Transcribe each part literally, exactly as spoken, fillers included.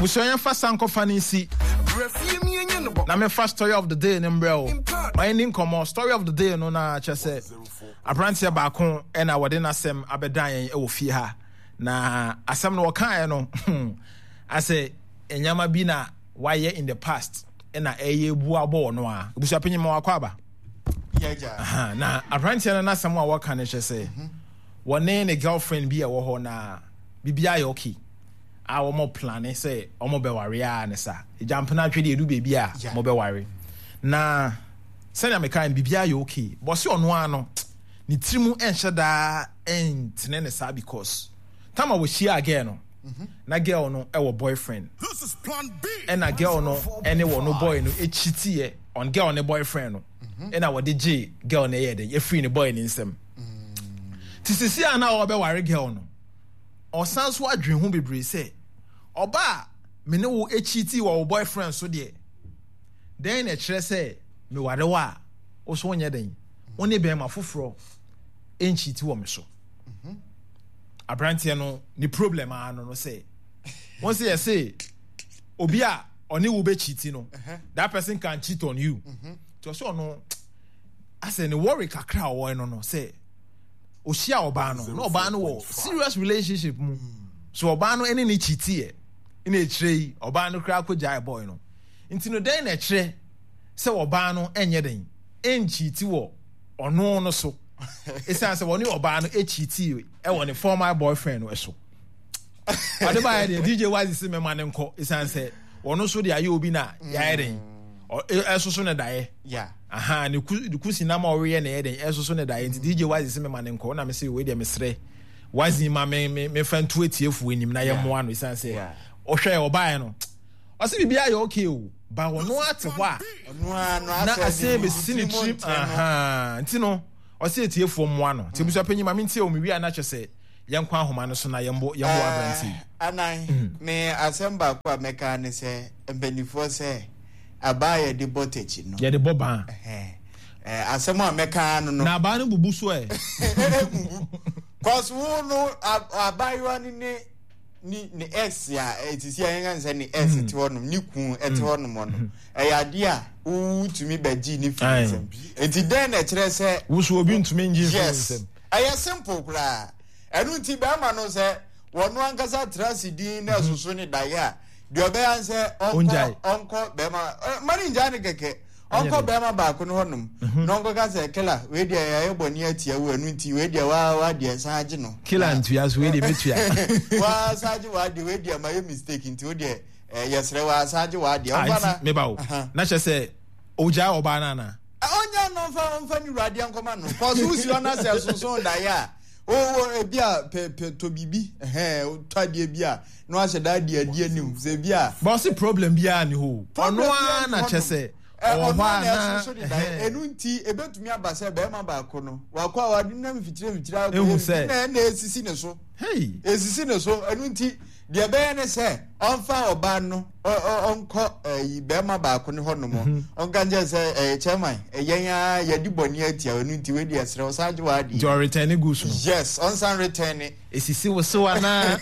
Abusua, yɛmfa sankɔfa no nsi na mefa story of the day no mbrɛ o. Ma yɛni nkɔmmɔ. Story of the day no na kyerɛ sɛ aberanteɛ baako ɛna wɔde n'asɛm abɛdan yɛn ɛwɔ fie ha, na asɛm no wɔkaeɛ no asɛ nneɛma bi na wayɛ in the past ɛna ɛyɛ bu abɔ wɔ no a. Abusua panyin, ma wakɔ aba. Yɛgya. Na aberanteɛ no n'asɛm a wɔka no kyerɛ sɛ wɔne ne girlfriend bi a ɛwɔ hɔ na biribiara yɛ okay a wɔn plan sɛ wɔn bɛware a ne sa gyampena atwe deɛ edu beebi a Yeah. wɔn bɛware. Na sɛnea meka no, biribiara yɛ okay. Bɔsi ɔno ara no ne tiri mu ɛnhyɛ daa ɛntene ne saa because time a wɔhyia girl no na girl no ɛwɔ boyfriend, ɛna girl no ɛne wɔn no boy no ekyitiɛ on girl ne boyfriend no, ɛna wɔde gye girl no ɛyɛ de efiri ne boy ne nsam. Ti sisi a na ɔbɛware girl no, ɔsan so adwene ho bebree sɛ ɔbaa a me ne wo ekyiti wɔ wo boyfriend so deɛ, dɛn na ɛkyerɛ sɛ meware wo a wo so wonyɛ den wo ne bɛrima foforɔ nkyiti wɔ me so? Aberanteɛ no ne problem ara no no sɛ wɔn sɛ yɛse obi a ɔne wo bɛkyiti no, that person can cheat on you. Nti ɔsɛ ɔno asɛ ne worry kakra a ɔwɔ no no sɛ ohyia ɔbaa no na ɔbaa no wɔ serious relationship mu, so ɔbaa no ɛne ne kyitiɛ ɛna ekyirɛ yi ɔbaa no koraa kɔ gyae boy no. Nti no dɛn na ɛkyerɛ sɛ ɔbaa no ɛnyɛ den ɛnkyiti wɔ ɔno no so, ɛsiane sɛ wɔne ɔbaa no ɛkyiti ɛwɔ ne former boyfriend no ɛso? Ɔde baayɛ deɛ D J Wazi sɛ mɛma ne nkɔ, ɛsiane sɛ ɔno nso de ayɛ obi na yɛayɛ den ɛsoso ne daeɛ. Yeah. Aha ne ku ne kusi nam a ɔreyɛ na ɛyɛ den ɛsoso ne daeɛ. Nti D J Wazi sɛ mɛma ne nkɔ na mɛ sɛ wei deɛ mesrɛ Wazi ma me me mefa ntu etiefoɔ anim na yɛmmoa no, ɛsiane sɛ Yeah. ɔhwɛ ɔbaeɛ no ɔsɛ biribi ayɛ okay o, ba ɔno ate hɔ a ɔno ara no na asɛ asɛn bɛsi ne tirim ntɛn no. Aha nti no ɔsɛ etiefoɔ mmoa no. Nti ebusua panyin, ma me ntie o. Me wie a na kyerɛ sɛ yɛnkɔ ahoma no so na yɛmbɔ yɛmbɔ aberante yi. Eh, anan me asɛm baako a mɛka ne sɛ mpanimfoɔ sɛ abaa yɛde bɔ takyi no yɛde bɔ ban. Ɛhɛn. Eh, asɛm a mɛka no no na abaa no bubu so ɛ. Cause wo no a- abaayewa no ne ne ne ex a ɛte si a yɛn kan sɛ ne ex te hɔnom, ne kun ɛte hɔnom no, ɛyɛ adeɛ a wotumi bɛgye ne firi Aye. nsam. Nti dɛn na ɛkyerɛ sɛ wusu obi ntumi ngye mfiri yes nsam? Ɛyɛ simple koraa. Ɛno nti bɛrima no sɛ wɔno ankasa tena ase din na ɛsoso ne daeɛ a, deɛ ɔbɛyɛ ne sɛ ɔnkɔ Ongyae. Ɔnkɔ bɛrima ɛ, ma ne ngyae ne kɛkɛ. Ɛnyɛ ɔnkɔ dɛ. Bɛrima baako no hɔnom na ɔnkɔka sɛ, "Kela, wei deɛ yɛayɛ bɔne atia wo, ɛno nti wei deɛ waa waa deɛ san agye no." Kila ntua so, wei deɛ metua. Waa san agye waa deɛ, wei deɛ ma yɛ mistake, nti wo deɛ ɛ, yɛsrɛ waa san agye waa deɛ. Ah, ɔmfa na nti meba o. Aha. Na kyerɛ sɛ ogyae ɔbaa no ana? Ɔnya no ɔmfa ɔmfa ne wuradeɛ nkɔma no kɔso wosi hɔ na sɛ sonson daeɛ a wowɔ ebi a pɛ pɛ tɔ biribi, ɛhɛn, tɔ adeɛ bi a na wahyɛ da adi adi anim sɛ ebi a Ba ɔse problem biara ni hɔ o. Problem ɔno ara biara na ni kyerɛ hɔnom. sɛ Ɛ, ɔwɔ ɔno hɔ a a na na ɛsoso de daeɛ. ɛhɛn. Ɛno nti ebetumi aba sɛ bɛrima baako no wakɔ a wade nam mfikyire mfikyire akɔ Ehu yɛ sɛ- biribi na ɛna esisi ne so. Hey. Esisi ne so. Ɛno nti deɛ ɛbɛyɛ ne sɛ ɔmfa ɔbaa no ɔ- ɔ- ɔnkɔ ɛyi bɛrima baako ne hɔnom, ɔnka nkyɛn sɛ ɛyɛ chairman, ɛyɛn a yɛde bɔne atia, ɛno nti wei deɛ ɛsrɛ ɔsan gye w'adeɛ. Nti ɔreturn ne goods no. Yes, ɔnsan return ne. Esisi wo so anaa?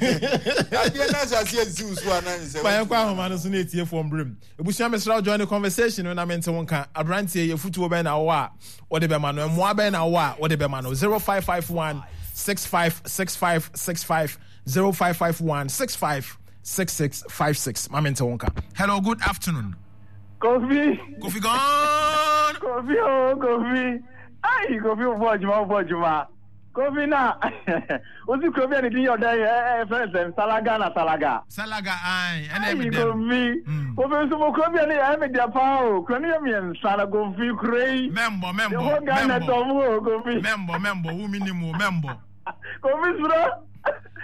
Adeɛ no ahyɛ aseɛ nsi wo so anaa ne sɛ ma yɛnkɔ ahoma no so na etiefoɔ mbrem. Ebusua, mesrɛ wo, join the conversation no na mente wo nka. Aberanteɛ yɛ futuo bɛn na wowɔ a wode bɛma no? Mmoa bɛn na wowɔ a wode bɛma no? zero five five one six five six five six five, zero five five one six five six six five six. Ma mente wo nka. Hello, good afternoon. Kofi. Kofi gone. Kofi o, Kofi. Ai, Kofi, wo bɔ adwuma, wo bɔ adwuma. Kofi na wosi kuro bi a ne din yɛ ɔdɛn ɛ ɛ fɛn sɛn Salaga na Salaga. Salaga ai ɛna Ai ɛmi dɛm. Kofi. Mm. Kofi nso mo kuro bi a ne yɛ ɛmi dɛ paa o. Kuro ne yɛ mmiɛnsa na Kofi kuro yi. Mɛmbɔ. The mɛmbɔ whole Ghana mɛmbɔ tɔm o, Kofi. Mɛmbɔ, mɛmbɔ wo mi nim o, mɛmbɔ. Kofi soro.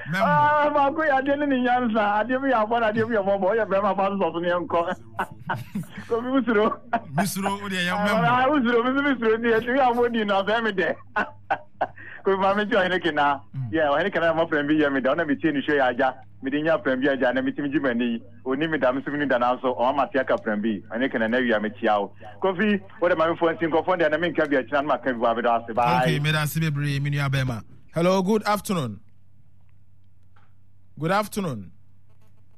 Mɛmbɔ. Ah, baako yɛ adeɛ ne ne nyansa, adeɛ bi yɛ abɔ na adeɛ bi yɛ mɔbɔ, ɔyɛ bɛrima fa sosɔ so ne yɛn nkɔ. Kofi wusuro. Misuro o deɛ yɛ Ah, mɛmbɔ. wusuro, mi nso misuro nti ɛti wi abɔ di no afɛ mi dɛ. Kofi, maame nti ɔhene kena. Yɛ ɔhene kena na mɔfrɛ bi yɛ mi dɛ, ɔna mi tie ne hwɛ yɛ agya. Mi de nya frɛ bi agya na mi ti mi gye m'ani yi. Oni mi da mi nso mi ni da nanso ɔma ma te aka frɛ bi. Ɔhene kena na awia mi kyia wo. Kofi, wo de maame fo nsi nkɔfɔ deɛ na mi nka bi akyina na ma ka bi wɔ abɛdɔ ase. Bye. Okay, meda ase bebree, me nua bɛrima. Hello, good afternoon. Good afternoon.